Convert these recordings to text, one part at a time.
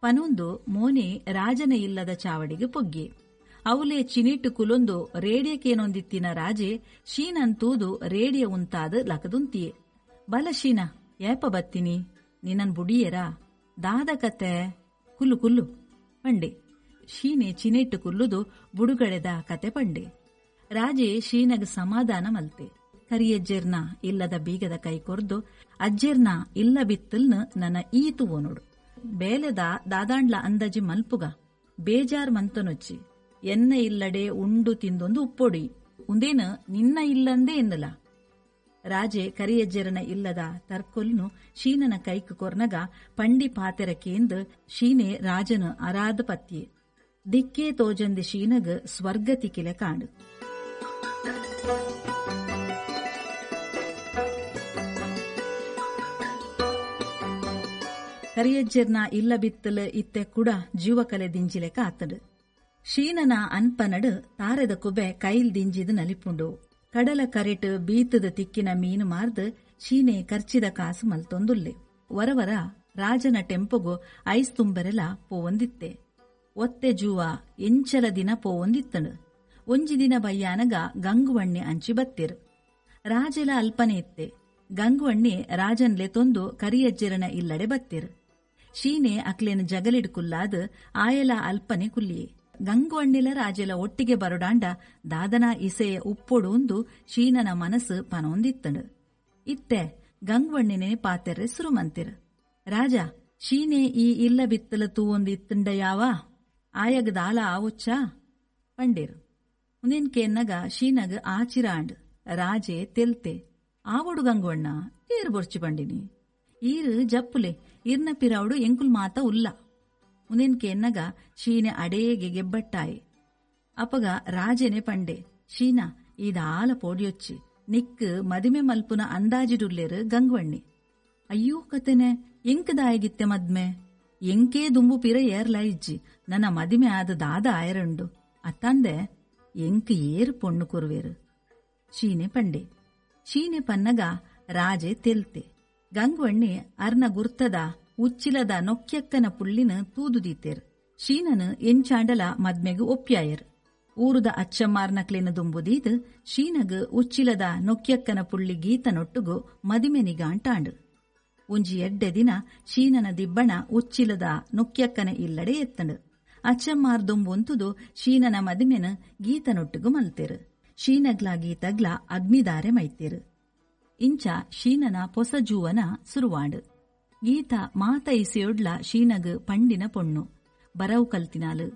ಪನೊಂದು ಮೋನೆ ರಾಜನ ಇಲ್ಲದ ಚಾವಡಿಗೆ ಪೊಗ್ಗಿ ಅವಲೇ ಚಿನಿಟ್ಟು ಕುಲೊಂದು ರೇಡಿಯಕ್ಕೇನೊಂದಿತ್ತಿನ ರಾಜೆ ಶೀನಂತೂದು ರೇಡಿಯ ಉಂತಾದ ಲಕದುಂತಿಯೇ. ಬಲ ಶೀನ, ಏಪ ಬತ್ತಿನಿ ನಿನ್ನನ್ ಬುಡಿಯೇರಾ ದಾದ ಕತೆ ಕುಲ್ಲು ಕುಲ್ಲು ಪಂಡೆ. ಶೀನೆ ಚಿನಿಟ್ಟು ಕುಲ್ಲುದು ಬುಡುಗಡೆದ ಕತೆ ಪಂಡೆ. ರಾಜೆ ಶೀನಗ್ ಸಮಾಧಾನ ಮಲ್ತೆ. ಕರಿಯಜ್ಜೆರ್ನ ಇಲ್ಲದ ಬೀಗದ ಕೈ ಕೊರ್ದು ಅಜ್ಜೆರ್ನ ಇಲ್ಲ ಬಿತ್ತಲ್ನ ನನ್ನ ಈತು ಓನೋಡು ಬೇಲೆದ ದಾದಾಂಡ್ಲ ಅಂದಾಜಿ ಮಲ್ಪುಗ ಬೇಜಾರ್ ಮಂತನೊಚ್ಚಿ ಎನ್ನ ಇಲ್ಲಡೆ ಉಂಡು ತಿಂದೊಂದು ಉಪ್ಪೊಡಿ ಉಂದೇನು ನಿನ್ನ ಇಲ್ಲಂದೇ ಎನ್ನಲ. ರಾಜೆ ಕರಿಯಜ್ಜೆರನ ಇಲ್ಲದ ತರ್ಕೊಲ್ನು ಶೀನನ ಕೈಕು ಕೊರ್ನಗ ಪಂಡಿ ಪಾತೆರಕೇಂದ್ ಶೀನೆ ರಾಜನು ಅರಾದ ಪತ್ಯೆ. ದಿಕ್ಕೇ ತೋಜಂದಿ ಶೀನಗ್ ಸ್ವರ್ಗ ತಿಕಿಲೆ ಕಾಂಡು. ಕರಿಯಜ್ಜೆರ್ನ ಇಲ್ಲ ಬಿತ್ತಲು ಇತ್ತೆ ಕೂಡ ಜೀವಕಲೆ ದಿಂಜಿಲೆಕ ಆತಡು. ಶೀನನ ಅನ್ಪನಡು ತಾರೆದ ಕುಬೆ ಕೈಲ್ ದಿಂಜಿದ್ ನಲಿಪುಂಡು. ಕಡಲ ಕರೆಟ್ ಬೀತದ ತಿಕ್ಕಿನ ಮೀನು ಮಾರ್ದು ಶೀನೆ ಖರ್ಚಿದ ಕಾಸು ಮಲ್ತೊಂದುಲ್ಲೆ. ವರವರ ರಾಜನ ಟೆಂಪೊಗು ಐಸ್ ತುಂಬರೆಲ ಪೋವೊಂದಿತ್ತೆ. ಒತ್ತೆ ಜೂವ ಎಂಚಲ ದಿನ ಪೋವೊಂದಿತ್ತನು. ಒಂಜಿ ದಿನ ಬಯ್ಯಾನಗ ಗಂಗುವಣ್ಣೆ ಅಂಚಿ ಬತ್ತಿರು. ರಾಜೆಲ ಅಲ್ಪನೆ ಇತ್ತೆ. ಗಂಗುವಣ್ಣೆ ರಾಜನ್ಲೆ ತೊಂದು ಕರಿಯಜ್ಜೆರನ ಇಲ್ಲಡೆ ಬತ್ತಿರು. ಶೀನೆ ಅಕ್ಲೇನ ಜಗಲಿಡ್ ಕುಲ್ಲಾದ್ ಆಯಲ ಅಲ್ಪನೆ ಕುಲ್ಲಿಯೆ. ಗಂಗುವಣ್ಣೆಲ ರಾಜೆಲ ಒಟ್ಟಿಗೆ ಬರಡಾಂಡ ದಾದನ ಇಸೆಯ ಉಪ್ಪೊಡು ಉಂದು ಶೀನನ ಮನಸ್ಸು ಪನೊಂದಿತ್ತಂಡು. ಇತ್ತೆ ಗಂಗುವಣ್ಣೆನೆ ಪಾತೆರ್ರೆ ಸುರುಮಂತಿರು. ರಾಜ, ಶೀನೆ ಈ ಇಲ್ಲ ಬಿತ್ತಲ ತೂವೊಂದು ಇತ್ತಂಡ ಯಾವ ಆಯಗ ದಾಲ ಆವೊಚ್ಚಾ ಪಂಡೇರು. ಉಂದೇನ್ಕೆನ್ನಗ ಶೀನಗ್ ಆಚಿರಾಂಡ್. ರಾಜೆ ತೆಲ್ತೆ, ಆವೊಡು ಗಂಗುವಣ್ಣ ಏರು ಬೊರ್ಚಿ ಪಂಡಿನಿ ಈರು ಜಪ್ಪುಲೆ ಇರ್ನ ಪಿರಾವುಡು ಎಂಕುಲ್ ಮಾತ ಉಲ್ಲ. ಉಂದೇನ್ಕೆನ್ನಗ ಶೀನೆ ಅಡೇಗೆ ಗೆಬ್ಬಟ್ಟಾಯಿ. ಅಪಗ ರಾಜೆನೆ ಪಂಡೆ, ಶೀನಾ ಈದಾಲ ಪೋಡಿಯೊಚ್ಚಿ ನಿಕ್ ಮದಿಮೆ ಮಲ್ಪುನ ಅಂದಾಜಿಡುಲ್ಲೇರು ಗಂಗುವಣ್ಣಿ. ಅಯ್ಯೋ ಕತೆನೆ ಎಂಕದಾಯಗಿತ್ತೆ ಮದ್ಮೆ ಎಂಕೇ ದುಂಬು ಪಿರ ಏರ್ಲ ಇಜ್ಜಿ ನನ್ನ ಮದಿಮೆ ಆದ ದಾದ ಆಯರಂಡು ಅತ್ತಂದೆ ಎಂಕ್ ಏರು ಪೊಣ್ಣು ಕೊರುವೇರು ಶೀನೆ ಪಂಡೆ. ಶೀನೆ ಪನ್ನಗ ರಾಜೆ ತೆಲ್ತೆ. ಗಂಗುವಣ್ಣೆ ಅರ್ನ ಗುರ್ತದ ಉಚ್ಚಿಲದ ನೊಕ್ಯಕ್ಕನ ಪುಳ್ಳಿನ ತೂದುದೀತೇರ್. ಶೀನನು ಎಂಚಾಂಡಲ ಮದ್ಮೆಗು ಒಪ್ಪ್ಯಾಯರ್. ಊರುದ ಅಚ್ಚಮ್ಮಾರ್ನಕ್ಲೇನ ದುಂಬುದೀದ್ ಶೀನಗ್ ಉಚ್ಚಿಲದ ನೊಕ್ಯಕ್ಕನ ಪುಳ್ಳಿ ಗೀತನೊಟ್ಟುಗು ಮದಿಮೆ ನಿಗಾಂಟಾಂಡು. ಒಂಜಿ ಎಡ್ಡೆ ದಿನ ಶೀನನ ದಿಬ್ಬಣ ಉಚ್ಚಿಲದ ನೊಕ್ಯಕ್ಕನ ಇಲ್ಲಡೆ ಎತ್ತಂಡು. ಅಚ್ಚಮ್ಮಾರ್ ದುಂಬುಂತುದು ಶೀನನ ಮದಿಮೆನ ಗೀತನೊಟ್ಟುಗು ಮಲ್ತೇರು. ಶೀನಗ್ಲ ಗೀತಗ್ಲ ಅಗ್ನಿದಾರೆ ಮೈತೇರು. ಇಂಚ ಶೀನನ ಪೊಸ ಜೂವನ ಸುರುವಾಂಡು. ಗೀತ ಮಾತ ಇಸೆಯೊಡ್ಲ ಶೀನಗ್ ಪಂಡಿನ ಪೊಣ್ಣು ಬರವು ಕಲ್ತಿನಾಲು.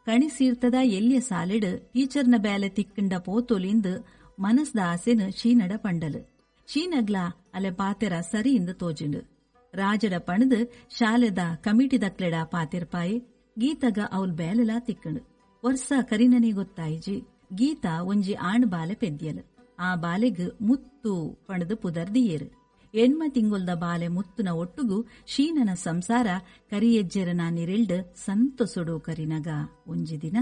ಕಣಿಸೀರ್ತದ ಎಲ್ಯ ಸಾಲೆಡ್ ಟೀಚರ್ನ ಬೇಲೆ ತಿಕ್ಕಿಂಡ ಪೋತೊಲಿಂದ್ ಮನಸ್ದ ಆಸೆನು ಶೀನಡ ಪಂಡಲು. ಶೀನಗ್ಲ ಅಲೆ ಪಾತೆರ ಸರಿ ಇಂದ ತೋಜಿಂಡು. ರಾಜಡ ಪಣದು ಶಾಲೆದ ಕಮಿಟಿದಕ್ಲೆಡ ಪಾತೆರ್ಪಾಯಿ. ಗೀತಗ ಅವಲ್ ಬೇಲೆಲಾ ತಿಕ್ಕಂಡು. ವರ್ಷ ಕರಿನನೇ ಗೊತ್ತಾಯಿಜಿ ಗೀತಾ ಒಂಜಿ ಆಣ್ ಬಾಲೆ ಪೆದ್ಯಲು. ಆ ಬಾಲೆಗ್ ಮುತ್ತು ಪಣದು ಪುದರ್ದಿಯೇರು. ಎಣ್ಮ ತಿಂಗೊಲ್ದ ಬಾಲೆ ಮುತ್ತುನ ಒಟ್ಟುಗು ಶೀನನ ಸಂಸಾರ ಕರಿಯೆಜ್ಜೆರನ ನಿರೆಲ್ಡ್ ಸಂತೊಸೊಡು ಕರಿನಗ ಒಂಜಿ ದಿನ.